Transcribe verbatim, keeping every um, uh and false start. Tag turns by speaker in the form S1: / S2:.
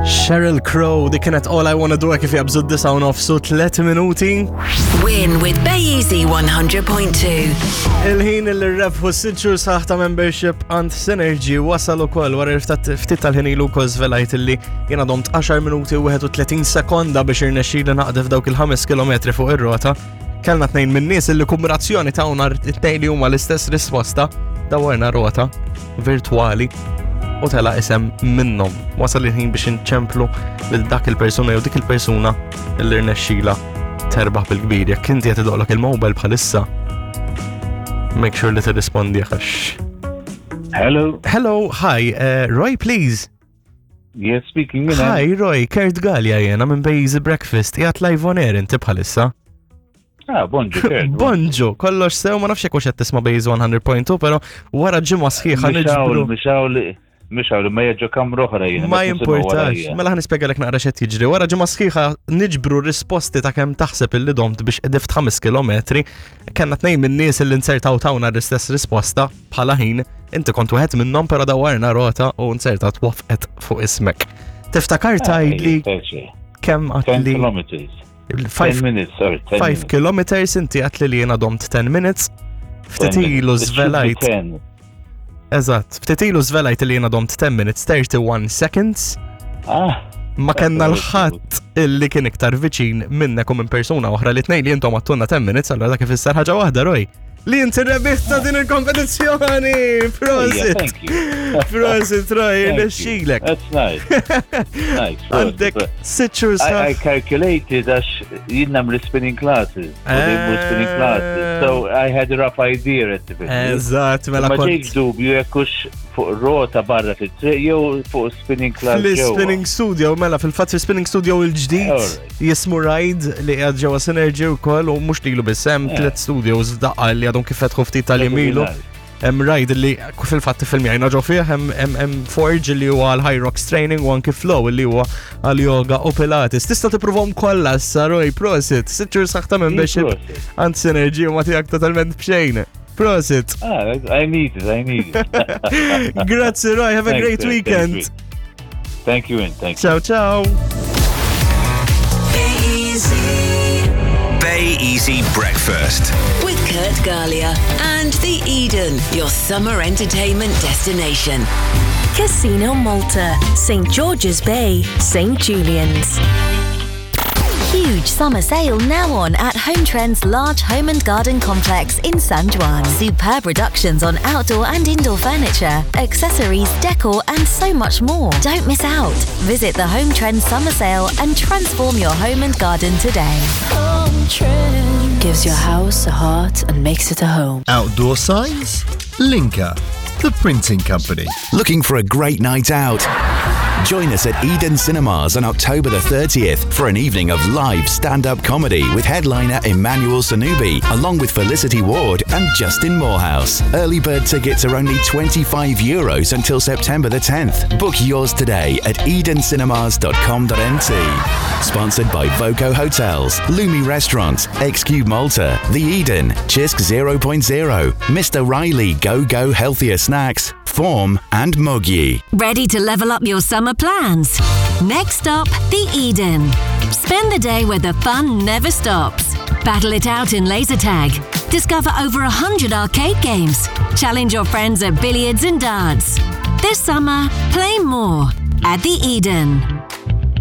S1: Sheryl Crow, dik kienet All I Wanna Do kif jaqbżu d-disgħa u nofs u tliet minuti.
S2: Win with Bay Easy one hundred point two.
S1: Il-ħin li rebħu sitt xhur sħaħ ta' membership għand Synergy wasal ukoll wara ftit ftit tal-ħin ilu wkoll żvelajt illi jiena domt għaxar minuti u wieħed u tletin sekonda biex irnexxieli naqdef dawk il-ħames kilometri fuq ir-rota. Kellna tnejn minn nies illi kombinazzjoni ta' nhar it-tnejn li huma l-istess risposta, dawarna rota virtuali u tela isem minnhom. Wasal il-ħin biex inċemplu lil dak il-persuna jew dik il-persuna illi rnexxila terbaħ bil-kbir. Jekk inti qed idoqlok il-mobile bħalissa, make sure li tirrispondi għax.
S3: Hello.
S1: Hello, hi, uh, Roy, please.
S3: Yes, speaking. Min
S1: Hi, Roy, Kurt Gallia jena minn Bay Easy Breakfast. Qiegħed live on air inti bħalissa.
S3: Ah, bonġu, Kurt.
S1: Bonġu, kollox sew, ma nafx jekk hux qed tisma' Bay Easy one hundred point two, pero wara ġimgħa sħiħa niġbru.
S3: Mixawl, mixawl, ma jaġġu kamra oħra jena.
S1: Ma jimpurtax. Mela ħa nispjegalek naqra x'qed jiġri. Wara ġimgħa sħiħa niġbru risposti ta' kemm taħseb illi domt biex qdift ħames kilometri. Kellna tnejn minn nies illi nsertaw tawna l-istess risposta bħala ħin. Inti kont wieħed minnhom, però dawarna rota u nsertat wafqet fuq ismek. Tiftakar tgħidli kemm
S3: ten
S1: għatli?
S3: Kilometers. ten
S1: five
S3: minutes, sorry. ten
S1: five
S3: minutes.
S1: Kilometers, inti għatli li jena domt ten minutes. Ftit ilu
S3: It should be
S1: żvelajt.
S3: ten.
S1: Eżatt, ftit ilu żvelajt li jena domt ten minutes thirty-one seconds.
S3: Ah,
S1: Ma kellna l-ħadd illi kien iktar viċin minnek u minn persuna oħra li tnejn li intom għedtulna ten minutes, allora dak ifisser ħaġa waħda, Roy. Li inti rebiħt ta' din il-kompetizzjoni! Prosit!
S3: Thank you.
S1: Prosit, Roy,
S3: Thank you.
S1: nexxilek.
S3: That's nice. Nice.
S1: Għandek sitt xhur
S3: I, I
S1: sħaħ.
S3: Calculated għax jien nagħmel spinning classes. U they were spinning classes. So I had a rough idea at the beginning.
S1: Eżatt, mela
S3: Ma
S1: kont.
S3: ġejx dubju jekk hux fuq rota barra fit-triq jew fuq spinning class ġewwa.
S1: Fl-spinning studio, mela fil-fatt fil-spinning studio il-ġdid
S3: Alright.
S1: jismu Ride li qiegħed ġewwa Synergy wkoll u mhux lilu biss, hemm
S3: Yeah.
S1: tliet studios daqqa li għadhom kif fetħu ftit
S3: That would be
S1: tal-jiem ilu.
S3: nice.
S1: Hemm Ride li fil-fatt filmjajna ġo fih, hemm hemm hemm Forge li huwa għal Hyrox Training u anki Flow li huwa għal yoga u Pilates. Tista' tippruvhom kollha issa, Roy, prosit. Sitt xhur sħaħ ta' membership
S3: Prosit.
S1: għand Synergy u ma tiegħek totalment b'xejn. Prosit.
S3: Ah, I need it, I need it.
S1: Grazzi, Roy, have a
S3: Thanks,
S1: great
S3: sir. Thank
S1: weekend.
S3: you. Thank you, and thank you.
S1: Ciao, ciao.
S2: Bay Easy.
S4: Bay Easy Breakfast.
S2: With Kurt Gallia and the Eden, your summer entertainment destination.
S5: Casino Malta, Saint George's Bay, Saint Julian's.
S6: Huge summer sale now on at Home Trend's large home and garden complex in San Juan. Superb reductions on outdoor and indoor furniture, accessories, decor, and so much more. Don't miss out. Visit the Home Trend summer sale and transform your home and garden today.
S5: Home Trends gives your house a heart and makes it a home.
S7: Outdoor signs? Linka, the printing company.
S4: Looking for a great night out? Join us at Eden Cinemas on October the thirtieth for an evening of live stand-up comedy with headliner Emmanuel Sanubi, along with Felicity Ward and Justin Morehouse. Early bird tickets are only twenty-five euros until September the tenth. Book yours today at edencinemas dot com dot M T. Sponsored by Voco Hotels, Lumi Restaurant, X-Cube Malta, The Eden, Cisk zero point zero, Mister Riley Go Go Healthier Snacks, Form and Mogi.
S6: Ready to level up your summer plans? Next stop, the Eden. Spend the day where the fun never stops. Battle it out in laser tag. Discover over a hundred arcade games. Challenge your friends at billiards and darts. This summer, play more at the Eden.